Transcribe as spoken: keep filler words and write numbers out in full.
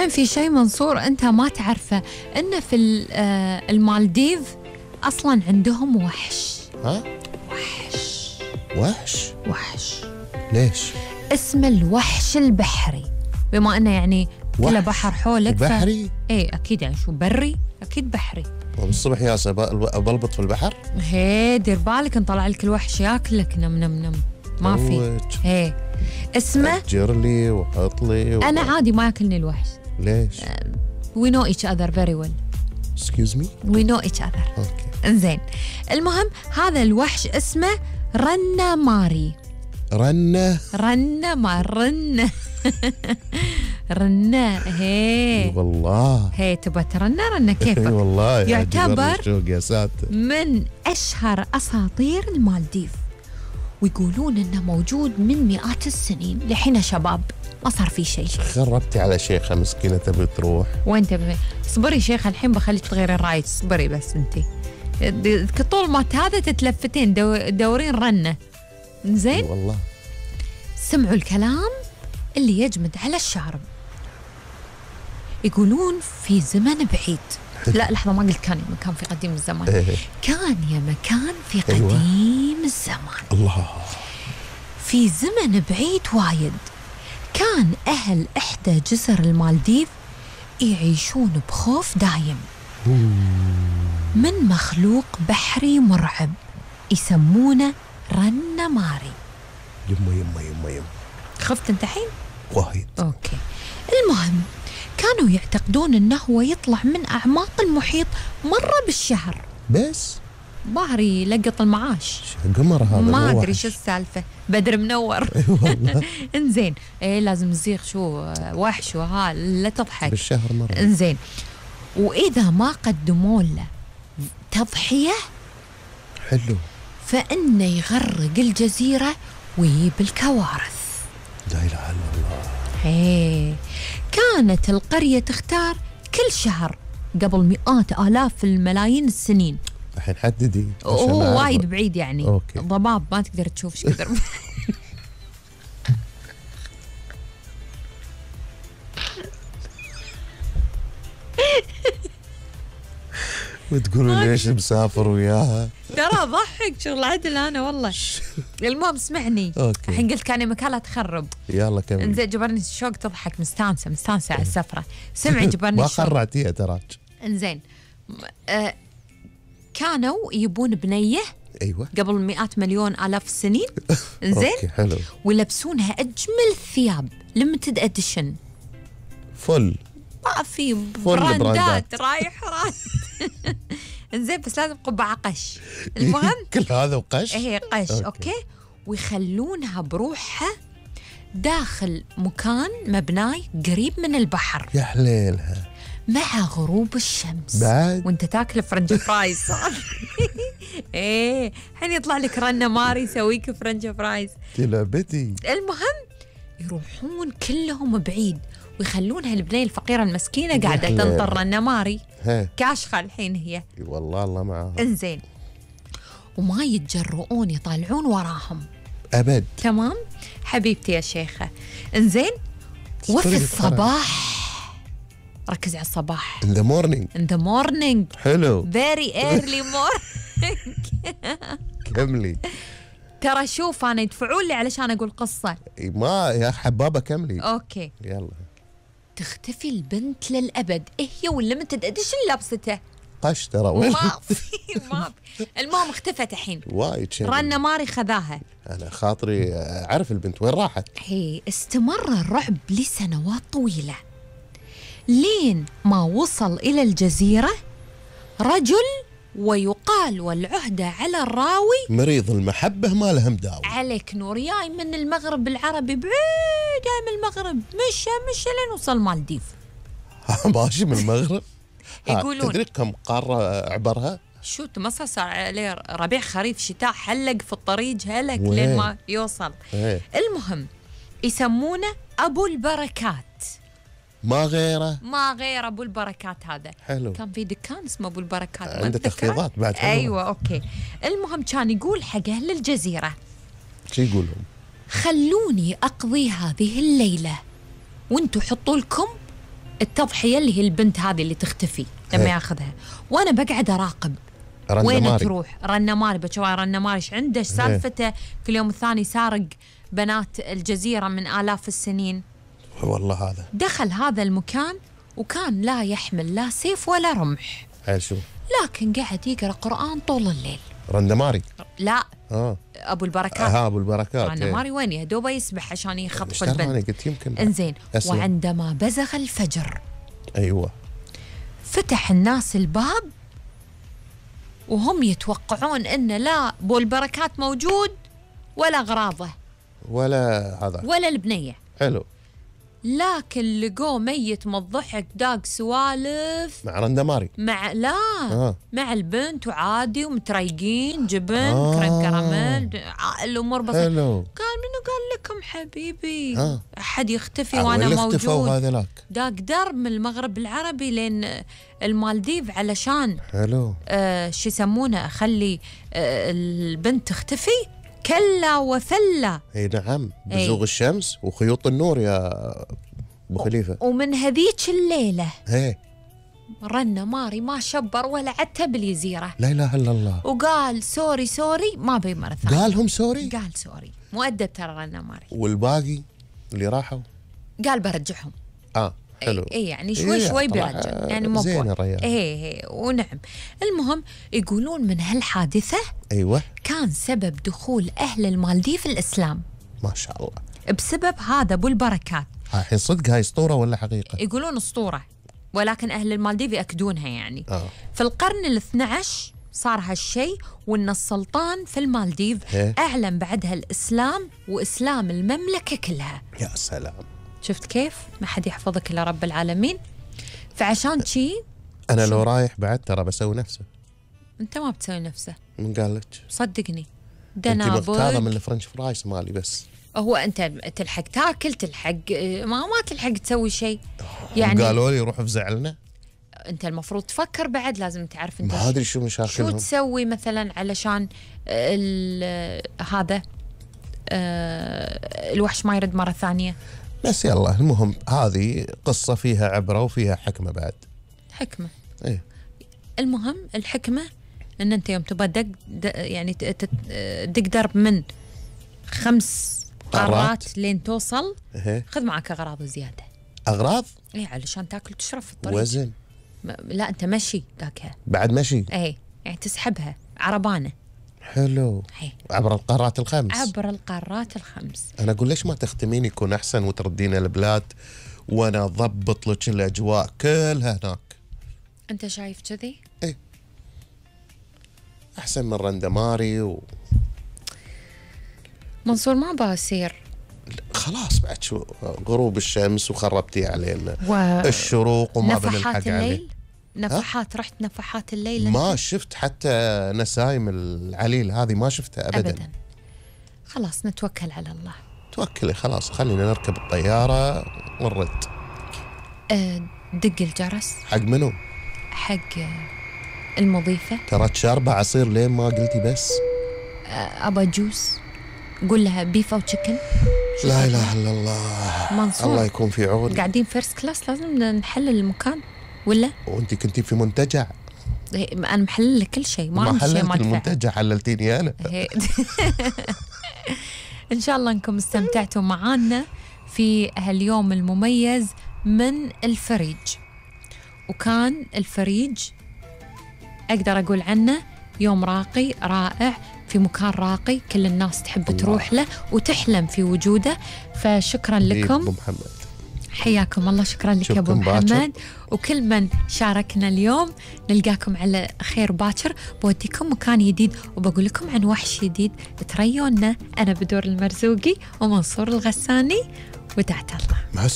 الحين في شيء منصور أنت ما تعرفه، إنه في المالديف أصلاً عندهم وحش. ها؟ وحش وحش؟ وحش ليش؟ اسمه الوحش البحري، بما أنه يعني كله بحر حولك. بحري؟ ف... إيه أكيد، يعني شو بري؟ أكيد بحري. والصبح ياسا بلبط في البحر؟ هي دير بالك نطلع لك الوحش ياكلك. نم نم نم ما في. هي اسمه أجر لي وحط لي و... أنا عادي ما ياكلني الوحش. ليش؟ We know each other very well. Excuse me? We know each other. Okay. انزين، المهم هذا الوحش اسمه رنة ماري. رنة؟ رنة ما رنة رنة. هي والله هي تبغى ترنة رنة كيفك. والله يعتبر يا ساتر من أشهر أساطير المالديف، ويقولون إنه موجود من مئات السنين لحين شباب ما صار في شيء. خربتي على شيخة مسكينة تبي تروح. وين تبي؟ اصبري شيخة الحين بخليك تغيرين رايك، اصبري بس انتي. طول ما هذا تتلفتين دو دورين رنة. زين؟ والله سمعوا الكلام اللي يجمد على الشارب. يقولون في زمن بعيد لا لحظة ما قلت كان يا مكان في قديم الزمان. كان يا مكان في قديم أيوة. الزمان. الله. في زمن بعيد وايد كان أهل إحدى جزر المالديف يعيشون بخوف دايم من مخلوق بحري مرعب يسمونه رنة ماري. يما يما يما يما. خفت انت حين؟ وايد. اوكي. المهم كانوا يعتقدون انه هو يطلع من اعماق المحيط مرة بالشهر بس ظهري يلقط المعاش. قمر هذا ما ادري شو السالفة، بدر منور. والله. انزين ايه لازم نزيغ شو وحش وها لا تضحك بالشهر مرة. انزين واذا ما قدموا له تضحية حلو فإنه يغرق الجزيرة ويجيب الكوارث. لا إله إلا الله. هي كانت القرية تختار كل شهر قبل مئات آلاف الملايين السنين. الحين حددي. هو وايد بعيد يعني. أوكي. ضباب ما تقدر تشوف ايش كثر. وتقولوا ليش مسافر وياها؟ ترى ضحك شغل عدل انا والله. المهم اسمعني. اوكي. الحين قلت كان مكان لا تخرب. يلا كمل. انزين جبرني الشوق تضحك مستانسه مستانسه على السفره. سمعي جبرني ما الشوق. خرعتيها تراك. انزين آه كانوا يبون بنيه. ايوه. قبل مئات مليون الاف السنين. انزين. اوكي حلو. ويلبسونها اجمل ثياب ليمتد اديشن. فل. ما في براندات رايح رايح. انزين بس لازم قبعة قش. المهم كل هذا وقش. هي قش. اوكي, أوكي. ويخلونها بروحها داخل مكان مبناي قريب من البحر. يا حليلها. مع غروب الشمس بعد وانت تاكل فرنش فرايز. ايه الحين يطلع لك رنة ماري يسويك فرنش فرايز. تلعبتي. المهم يروحون كلهم بعيد ويخلونها البنية الفقيرة المسكينة قاعدة تنطر رنة ماري. كاشخة الحين هي. والله الله معاها. انزين وما يتجرؤون يطالعون وراهم أبد. تمام حبيبتي يا شيخة. انزين وفي الصباح ركزي على الصباح. In the morning. In the morning. حلو. very early morning. كملي. ترى شوف أنا يدفعون لي علشان أقول قصة. ما يا حبابة كملي. أوكي. يلا. تختفي البنت للأبد. إيه هي والليمتد إديشن لابسته. قش ترى وين؟ ما في ما في. المهم اختفت الحين. وايد شيء. رنة ماري خذاها. أنا خاطري أعرف البنت وين راحت. هي استمر الرعب لسنوات طويلة لين ما وصل إلى الجزيرة رجل ويقال والعهدة على الراوي مريض المحبة ما له مداوي. عليك نور جاي من المغرب العربي بعيد جاي من المغرب مشى مشى لين وصل مالديف. ماشي من المغرب. يقولون تدري كم قارة عبرها؟ شو تمصص عليه ربيع خريف شتاء حلق في الطريق هلك لين ما يوصل. وين؟ المهم يسمونه أبو البركات. ما غيره. ما غير أبو البركات هذا. حلو. كان في دكان اسمه أبو البركات. عنده تخفيضات بعد. حلوة. أيوة أوكي. المهم كان يقول حق أهل الجزيرة شو يقول لهم؟ خلوني أقضي هذه الليلة وانتوا حطوا لكم التضحية اللي هي البنت هذه اللي تختفي لما هي. ياخذها، وأنا بقعد أراقب رنة وين ماري. تروح. رنة ماري بشوف رنة ماري ايش عنده، ايش سالفته في اليوم الثاني سارق بنات الجزيرة من آلاف السنين. والله هذا دخل هذا المكان وكان لا يحمل لا سيف ولا رمح، حيل شو لكن قاعد يقرأ قرآن طول الليل. رنة ماري. لا اه أبو البركات. ها ابو البركات. رنة ماري وين يهدوبه يسبح عشان يخطف اشتغل البنت. أنا قلت يمكن انزين أسلم. وعندما بزغ الفجر ايوه فتح الناس الباب وهم يتوقعون ان لا ابو البركات موجود ولا اغراضه ولا هذا ولا البنيه، حلو. لكن لقوه ميت من الضحك داق سوالف مع رنة ماري. مع لا آه. مع البنت وعادي ومتريقين جبن آه. كريم كراميل ع- الامور بسيطه. حلو. قال منو قال لكم حبيبي آه. احد يختفي آه، وانا وين اختفوا موجود. هذولاك؟ داق درب من المغرب العربي لين المالديف علشان حلو. آه شو يسمونه اخلي آه البنت تختفي. كلا وفلا. اي نعم إي. بزوغ الشمس وخيوط النور يا ابو خليفه. ومن هذيك الليله هي رنة ماري ما شبر ولا عتب الجزيره، لا اله الا الله. وقال سوري سوري ما بي مرة ثانية. قالهم سوري. قال سوري مؤدب ترى رنة ماري. والباقي اللي راحوا قال برجعهم. اه حلو. اي يعني شوي إيه شوي طلع بيرجع يعني مو زين بوا- الريال. ايه ايه ونعم. المهم يقولون من هالحادثة ايوه كان سبب دخول اهل المالديف الاسلام ما شاء الله. بسبب هذا ابو البركات. الحين صدق هاي اسطوره ولا حقيقه؟ يقولون اسطورة ولكن اهل المالديف ياكدونها يعني. اه في القرن الاثنى عشر صار هالشيء، وان السلطان في المالديف إيه. اعلن بعدها الاسلام واسلام المملكة كلها. يا سلام. شفت كيف؟ ما حد يحفظك الا رب العالمين. فعشان شي انا لو رايح بعد ترى بسوي نفسه. انت ما بتسوي نفسه من قال لك؟ صدقني. انت مغتاظه دنابل من الفرنش فرايز مالي بس. هو انت تلحق تاكل تلحق ما ما تلحق تسوي شيء يعني. قالوا لي روح افزعلنا. انت المفروض تفكر بعد، لازم تعرف انت ما ادري شو شو مشاكلهم. تسوي مثلا علشان ال- هذا آه، الوحش ما يرد مرة ثانية. بس يلا المهم هذه قصه فيها عبره وفيها حكمه بعد. حكمة. ايه المهم الحكمة ان انت يوم تبغى دق د- يعني ت- ت- دق درب من خمس قارات. قارات لين توصل، ايه خذ معك اغراض زيادة. اغراض. ايه علشان تاكل وتشرب في الطريق. وزن. م- لا انت مشي ذاكها. بعد مشي. ايه يعني تسحبها عربانة. حلو. هي. عبر القارات الخمس. عبر القارات الخمس. انا اقول ليش ما تختمين يكون احسن وتردين البلاد وانا اضبط لك الاجواء كلها هناك. انت شايف كذي؟ ايه احسن من رندماري و... منصور ما بصير خلاص بعد شو غروب الشمس وخربتي علينا و... الشروق وما بنلحق نفحات عليه. الليل. نفحات رحت نفحات الليل ما أنت؟ شفت حتى نسايم العليل هذه ما شفتها ابدا, ابدا. خلاص نتوكل على الله. توكلي خلاص خلينا نركب الطياره ونرد. أه دق الجرس حق منو؟ حق المضيفة. ترى شاربه عصير لين ما قلتي بس. أه أبا جوس. قول لها بيف أو تشيكن. لا اله الا الله. منصور الله يكون في عون. قاعدين فيرست كلاس لازم نحلل المكان ولا؟ وانت كنتي في منتجع. إيه، انا محلل لك كل شيء، ما ما عندي شيء حللت ما ادفع. المنتجع حللتيني انا. هي- ان شاء الله انكم استمتعتوا معانا في هاليوم المميز من الفريج. وكان الفريج اقدر اقول عنه يوم راقي رائع في مكان راقي كل الناس تحب الله. تروح له وتحلم في وجوده. فشكرا ابو لكم، محمد. حياكم الله. شكرا لك يا ابو نشوفكم باكر. محمد وكل من شاركنا اليوم. نلقاكم على خير باكر. بوديكم مكان جديد وبقول لكم عن وحش جديد تريونا. انا بدور المرزوقي ومنصور الغساني وتعت الله. مع السلامة.